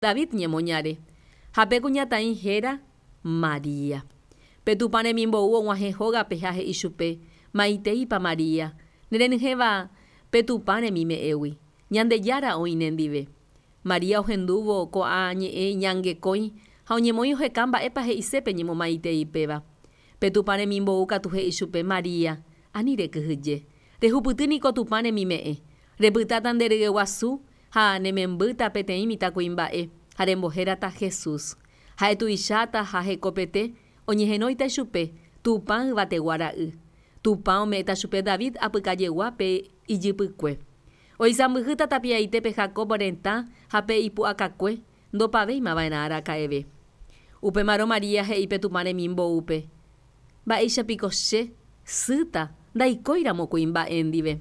David ñemoñare, ha pe kuñataĩ héra María. Pe Tupã remimbou og̃uahẽ hógape ha he'i chupe, Maiteípa María, nerenyhẽva pe Tupã remime'ẽgui, Ñandejára oĩ nendive. María ohendúvo ko'ã ñe'ẽ iñangekõi ha oñemoĩ oheka mba'épa he'ise pe ñemomaitei péva. Pe Tupã remimbou katu he'i chupe, María, ani rekyhyje. Rehupyty niko Tupã remime'ẽ. Repytáta nde ryeguasu ha ne membýta peteĩ mitãkuimba'e ha rembohérata Jesús. Ha'e tuicháta ha hekopete oñehenóita ichupe Tupã Yvategua Ra'y. Tupã ome'ẽta chupe David apykajegua pe ijypykue. Oisãmbyhýta tapiaite pe Jacob retã ha pe ipu'akakue ndopavéima va'erã araka'eve. Upémarõ María he'i pe Tupã remimboúpe, Mba'éicha piko che, sýta, ndaikóiramo kuimba'e ndive.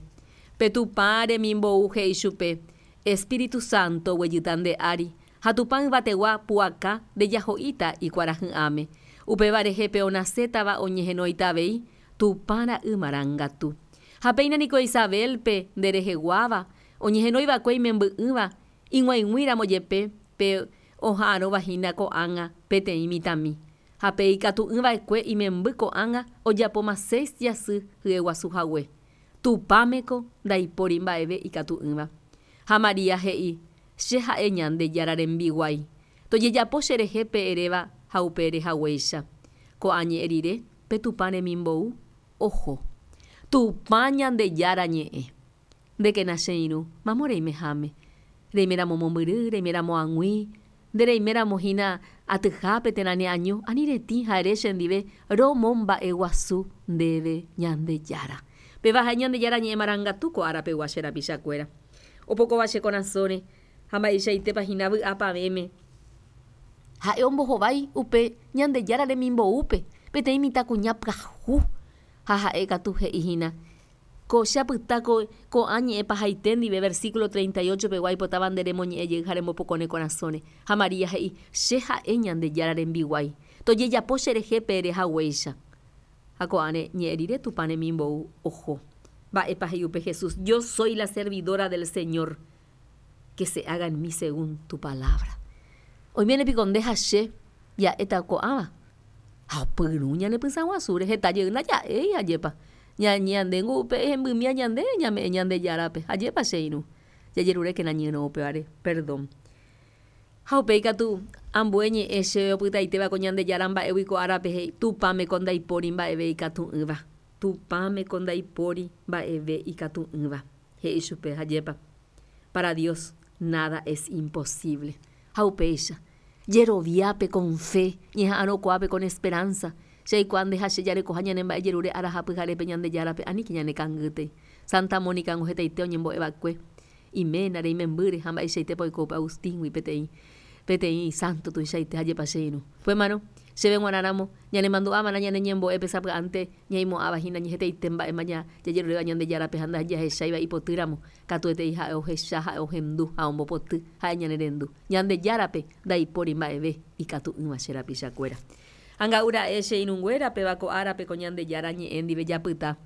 Pe Tupã remimbou he'i chupe, Espíritu Santo oguejýta nde ári, ha Tupã yvategua pu'aka ndejaho'íta ikuarahy'ãme. Upéva rehe pe onasétava oñehenóita avei Tupã Ra'y Marangatu. Ha péina niko Isabel-pe nde reheguáva, oñehenói va'ekue imemby'ỹva, ig̃uaig̃ui ramo jepe pe oha'arõva hína ko'ág̃a peteĩ mitãmi. Ha pe ikatu'ỹ va'ekue imemby ko'ág̃a ojapóma seis jasy hyeguasu hague. Tupãmeko ndaipóri mba'eve ikatu'ỹva. Ha María he'i, Che ha'e Ñandejára rembiguái. Tojejapo cherehe pe eréva ha upe ere haguéicha. Ko'ã ñe'ẽ rire, pe Tupã remimbou oho. Tupã Ñandejára ñe'ẽ. Ndékena che irũ, mamo reimeháme. Reiméramo mombyry, reiméramo ag̃ui, nde reiméramo hína atyhápe térã ne año, ani retĩ ha ere chendive romomba'eguasu ndéve Ñandejára. Péva ha'e Ñandejára ñe'ẽ marangatu ko ára pegua che rapichakuéra. Opokóva che korasõre ha mba'eichaitépa hína vy'a pavẽme. Ha'e ombohovái upe Ñandejára remimboúpe peteĩ mitãkuña pyahu ha ha'e katu he'i hína, Ko che apyta ko ko'ã ñe'ẽ pahaite ndive versículo 38 pegua aipotáva nde remoñe'ẽ jey ha rembopoko ne korasõre. Ha María he'i, Che ha'e Ñandejára rembiguái. Tojejapo che rehe pe ere haguéicha. Ha ko'ã ne ñe'ẽ rire Tupã remimbou oho. Mba'épa he'i upe Jesús, Yo soy la servidora del Señor, que se haga en mí según tu palabra. Oiméne piko nde ha che ja'éta ko'ãva? Ha opyrũ ñane pysã guasúre, heta jey ndaja'éi, ajépa. Ñañe'andéngo upe hembymía ñande ñame'ẽ Ñandejárape, ajépa che irũ. Jajerurékena ñyrõ upévare, perdón. Ha upéi katu, ambue ñe'ẽ chéve opytaitéva ko Ñandejára mba'égui ko árape he'i, Tupãmeko ndaipóri mba'eve ikatu'ỹva. Tupãmeko ndaipóri mba'eve ikatu'ỹva. He'i chupe, ajépa. Para Dios, nada es imposible. Ha upéicha, jeroviápe con fe, ñeha'arõkuaápe con esperanza, che aikuaa nde ha che jarekoha ñane mba'ejerure ára ha pyharépe Ñandejárape, aníke ñanekangýtei. Santa Mónica-ngo hetaite oñembo'eva'ekue iménare, imembýre ha mba'eichaitépa oiko upe Agustín-gui peteĩ peteĩ sánto tuichaite ha jepa che irũ. Upémarõ, chéve g̃uarã ramo, ñanemandu'ava'erã ñane ñembo'épe sapy'ánte ñaimo'ãva hína ñehetaite mba'éma jajeruréva Ñandejárape ha ndajahecháiva ipotýramo, Katuetei ha'e ohecha, ha'e ohendu ha ombopoty, ha'e ñanerendu. Ñandejárape ndaipóri mba'eve ikatu'ỹva che rapichakuéra. Anga'u ra'e che irũnguéra, péva ko árape ko Ñandejára ñe'ẽ ndive japyta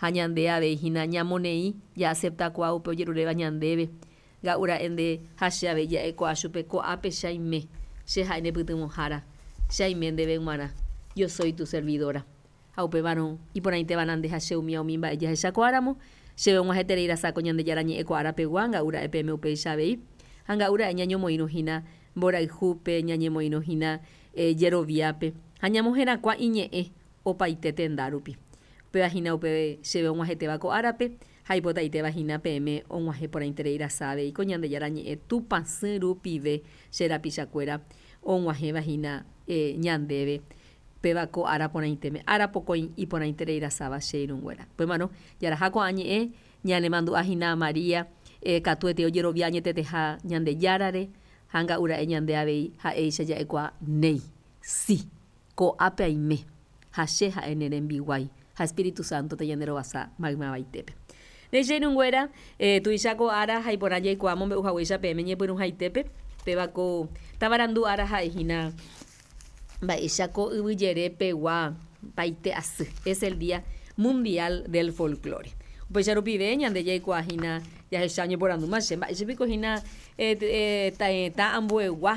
ha ñande avei hína ñamoneĩ ja'aceptakuaa upe ojeruréva ñandéve. Nga'u ra'e nde ha che avei ja'ekuaa chupe, Ko'ápe che aime, che ha'e ne pytyvõhára, che aime ndéve g̃uarã, yo soy tu servidora. Ha upévarõ, iporãitéva nande ha che umía umi mba'e jahechakuaáramo, chéve og̃uahẽterei rasa ko Ñandejára ñe'ẽ ko ára pegua, nga'u ra'e peẽme upéicha avei. Ha nga'u ra'e ñañomoirũ hína mborayhúpe, ñañemoirũ hína jeroviápe, ha ñamoherakuã iñe'ẽ opaite tenda rupi. Upéva hína upe chéve og̃uahẽtéva ko árape, ha aipotaitéva hína peẽme og̃uahẽ porãiterei rasa avei ko Ñandejára ñe'ẽ Tupãsy rupive che rapichakuéra og̃uahẽva hína ñandéve. Péva ko ára porãitéme, ára pokõi iporãiterei rasáva che irũnguéra. Upémarõ, jaraha ko'ã ñe'ẽ ñanemandu'a hína María katuete ojerovia añeteteha Ñandejárare, ha nga'u ra'e ñande avei ha'éicha ja'ekuaa néi, si, ko'ápe aime, ha che ha'e ne rembiguái, ha Espíritu Santo tañanderovasa maymavaitépe. Néi che irũnguéra, tuicha ko ára ha iporã jaikuaa mombe'u haguéicha peẽme ñepyrũhaitépe, péva ko tavarandu ára ha'e hína Mba'éicha ko yvy jere pegua paite asy, es el día mundial del folklore. Upéicha rupive ñande jaikuaa hína Jahecha oñeporandúma che, mba'éicha piko hína tetã ambuegua.